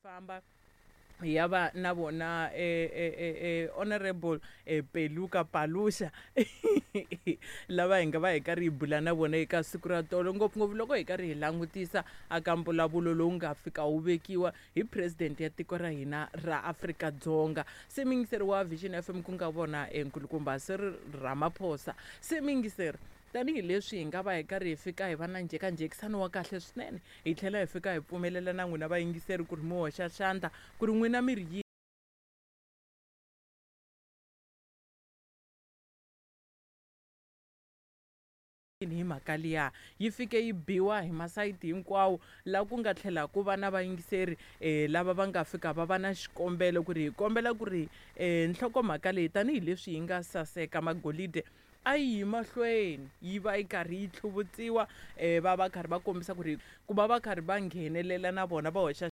Famba hi ya va na vona honorable Peluka Paluxa lava hi nga va hi karhi hi bula na vona eka siku ra tolo, ngopfungopfu loko hi karhi hi langutisa aka mbulavulo lowu nga fika wu vekiwa hi president ya tiko ra hina ra Afrika-Dzonga. Se muyingiseri wa Vision FM ku nga vona nkulukumba Cyril Ramaphosa. Se muyingiseri, tanihileswi hi nga va hi karhi hi fika hi va na njhekanjhekisano wa kahle swinene, hi tlhela hi fika hi pfumelela na n'wina vayingiseri ku ri mi hoxa xandla ku ri n'wina mi ri yini hi mhaka liya. Yi fike yi biwa hi masayiti hinkwawo, laha ku nga tlhela ku va na vayingiseri lava va nga fika va va na xikombelo ku ri hi kombela ku ri nhlokomhaka leyi tanihileswi yi nga saseka magolide a yi yi mahlweni yi va yi karhi yi tlhuvutsiwa, va va karhi va kombisa ku ri ku va va karhi va nghenelela na vona va hoxa.